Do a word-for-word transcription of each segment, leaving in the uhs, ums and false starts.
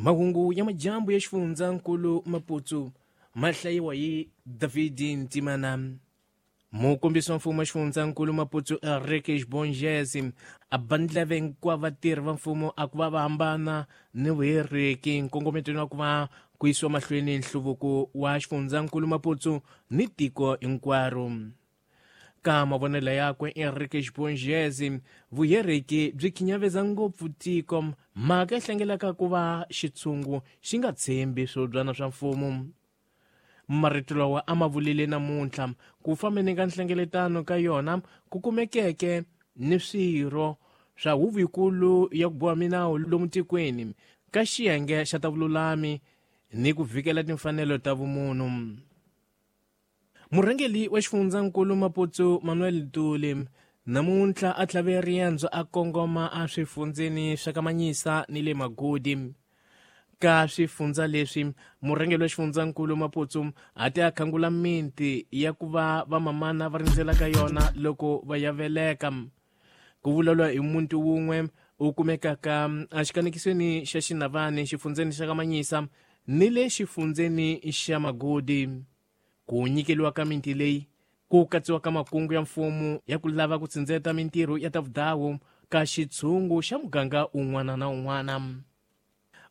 Mahungu ya majambu ya xifundzankulu Maputo ma hlayiwa hi David Ntimana. Mukombisi wa mfumo wa xifundzankulu Maputo Enrique Bongezi a bandlave hinkwavo vatirhi va mfumo a ku va va hambana ni vuheriki nkongometweni wa ku va ku yisiwa mahlweni nhluvuko wa xifundzankulu Maputo ni tiko hinkwaro. Ka mavonelo yakwe Enrique Bongezi, vuheriki byi khinyaveza ngopfu tiko, mhaka yi hlengelaka ku va xitshungu xi nga tshembi swibyana swa mfumo. Marito lawa a ma vulile namuntlha ku fambeni ka nhlengeletano ka yona ku kumekeke ni swirho swa huvo yikulu ya ku boha minawu lomu tikweni ka xiyenge xa ta vululami ni ku vikela timfanelo ta vumunhu. Murhangeri wa xifundzankulu Maputo Manuel Ntuli namuntlha a tlhave riendzo a kongoma a swifundzeni swa ka Manyisa ni le Magodi. Ka swifundza leswi murhangeri wa xifundzankulu Maputo a ti a khangula miti ya ku va vamamana va rindzela ka yona loko va ya veleka. Ku vulavula hi muti wun'we u kumekaka exikanekisweni xa Xinavani xifundzeni xa ka Manyisa ni le xifundzeni xa Magodi. Ku nyikeliwa ka miti leyi ku katsiwa ka makungu ya mfumo ya ku lava ku tsindzeta mintirho ya ta vudawu ka xitshungu xa muganga un'wana na un'wana.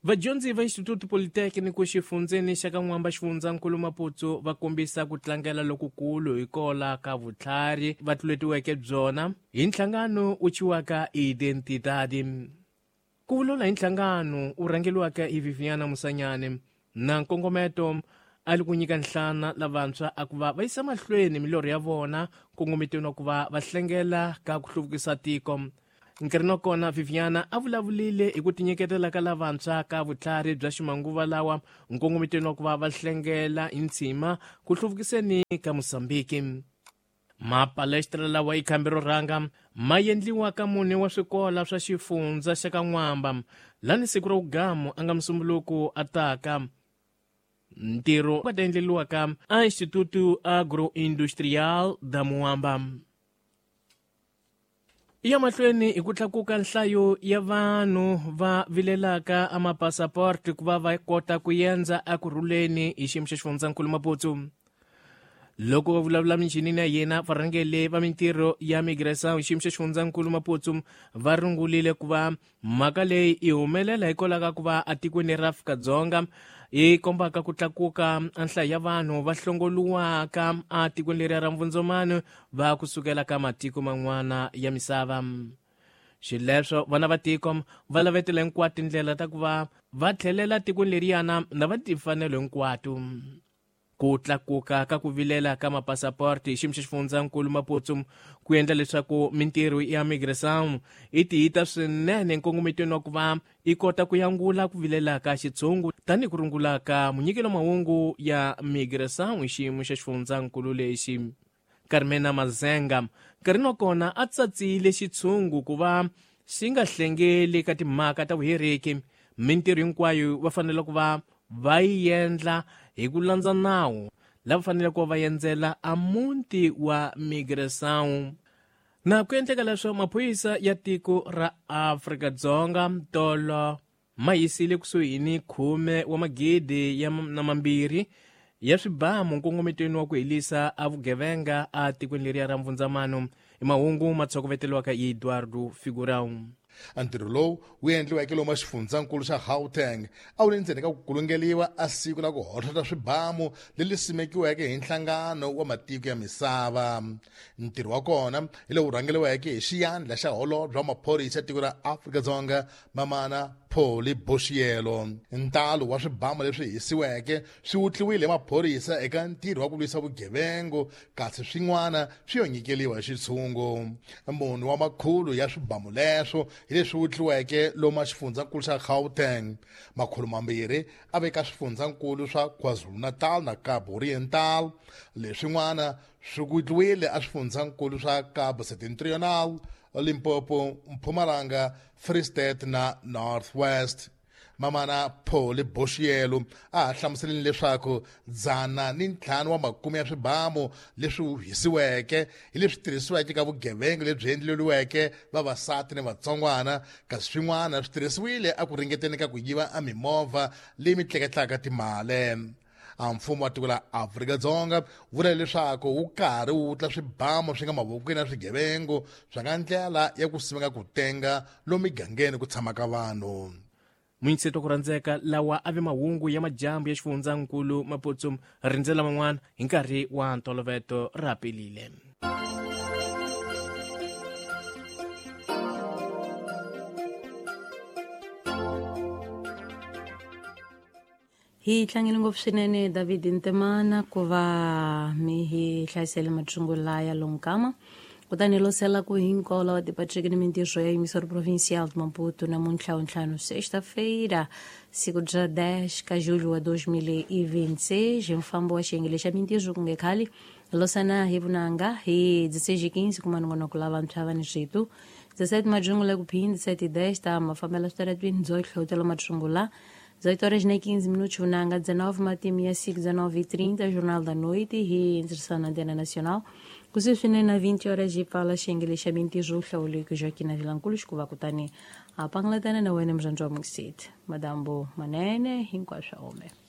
Vadyondzi va Instituto Politécnico xifundzeni xa ka N'wamba xifundzankulu Maputo va kombisa ku tlangela lokukulu hi kola ka vutlhari va tluletiweke byona hi nhlangano wu thyiwaka Identidade. Ku vulavula hi nhlangano wu rhangeriwaka hi Viviana Musanyane na nkongometo a li ku nyika nhlana lavantshwa a ku va va yisa mahlweni milorho ya vona nkongometweni wa ku va va hlengela ka ku hluvukisa tiko. Nkarhi wa kona Viviana a vulavulile hi ku tinyiketela ka lavantshwa ka vutlhari bya ximanguva lawa nkongometweni wa ku va va hlengela hi ntshima ku hluvukiseni ka Mozambiki. Mapalestra lawa i khambi ro rhanga ma endliwa ka mune wa swikola swa xifundza xa ka N'wamba lani siku ra wugamu a nga musumbuluko a taka. Ntirho wa ta endleriwa ka a Instituto Agroindustrial da Muamba. Ya mahlweni hi ku tlakuka nhlayo ya vanhu va vilelaka a mapasaport ku va va kota ku endza ekurhuleni hi xiyimo xa xifundzankulu Maputo. Loko va vulavula michinini ya yena varhangeri va mintirho ya migração hi xiyimo xa xifundzankulu Maputo va rungulile ku va mhaka leyi yi humelela hikwalaho ka ku va etikweni ra Afrika-Dzonga yi kombaka ku tlakuka nhlayo ya vanhu va hlongoliwaka etikweni leriya ra Mvundzumano va kusukela ka matiko man'wana ya misava. Xileswo vana va tiko va lavetela hinkwato tindlela ta ku va va tlhelela tikweni leriyana na va timfanelo hinkwato. Ku tlakuka ka ku vilela ka mapasaporti hi xiyimo xa xifundzankulu Maputo ku endla leswaku mintirho ya migração yi tiyita swinene nkongometweni wa ku va yi kota ku yangula ku vilela ka xitshungu tanihi ku rungula ka munyikelo mahungu ya migração hi xiyimo xa xifundzankulu lexi. Carmena Mazenga nkarhi wa kona a tsatsile xitshungu ku va xi nga hlengeli ka timhaka ta vuheriki. Mintirho hinkwayo va fanele ku va va yi endla hi ku landza nawu lava faneleke ku va endzela a muti wa migração. Na ku endleka leswo maphorisa ya tiko ra Afrika-Dzonga tolo ma yisile kusuhi ni khume wa magidi ya na mambirhi ya swibamu nkongometweni wa ku helisa a vugevenga a tikweni leriya ra Mvundzamano. I mahungu ma tshokoveteliwaka hi Eduardo Figurão. Ntirho lowu wu endliweke lomu xifundzankulu xa Gauteng a wu le ndzeni ka ku kulungeliwa a siku la ku hohlota swibamu leri simekiweke hi nhlangano wa matiko ya misava. Ntirho wa kona hi lowu rhangeriweke hi xiyandla xa holobye wa maphorisa ya tiko ra Afrika-Dzonga Mamana Polly Boshielo. Ntalo wa swibamu leswi hisiweke swi wutliwile hi maphorisa eka ntirho wa ku lwisa vugevengu kasi swin'wana swi yo nyikeliwa hi xitshungu. Munhu wa makhulu ya swibamu leswo hi leswi wutliweke lomu xifundzankulu xa Gauteng. Makhulu mambirhi a veka swifundzankulu swa KwaZulu-Natal na Kapa Oriental. Leswin'wana swi wutliwile a swifundzankulu swa Kapa Septentrional, Limpopo, Mpumalanga, Free State na North West. Mamana Paul Boshielo a hlamuseleni leswaku dzana ni ntlhanu wa makume ya swibamu leswi hisiweke hi leswi tirhisiweke ka vugevenga lebyi endleriweke vavasati ni vatsongwana, kasi swin'wana swi tirhisiwile a ku ringeteni ka ku yiva a mimovha leyi mi tleketlaka timali. A mfumo wa tiko la Afrika-Dzonga vula leswaku wu karhi wu wutla swibamu swi nga mavokweni ya swigevengo swa nga ndlela ya ku simeka ku tenga lomu migangeni ku tshamaka vanhu. Munyitseto ku rhandzeka lawa a ve mahungu ya majambu ya xifundzankulu Maputo, rindzela man'wana hi nkarhi wa ntoloveto ra pelile. Hi tlangele ngopfu swinene David Ntemana ku va mi hi hlayisele mathungu laya lonkama, kutani losela ku hinkwavo lava tipatriki ni mintirho ya Emissora Provincial de Maputo namuntlha ntlhanu sexta-feira siku bya dez ka julho wa dois mil e vinte e seis mfambo wa xiyenge xa mintirho ku nge khale losana hi vunanga hi dezesseis e quinze kuma nongonoko lava vantshwa va ni switu dezessete majungu la ku phin dezessete e dez ta mafambela switaratwini byo hlotela mathungu la dezoito horas e quinze minutos, vunanga dezenove, matimi ya cinco, dezenove e trinta, Jornal da Noite e inserção na Antena Nacional. Kuseswine na vinte horas e fala xengele xa mintirho hlawuleko Joaquim Vilanculos ku va kutani a panglatana na wena murhandziwa Mixit madambo manene hinkwaswo ome.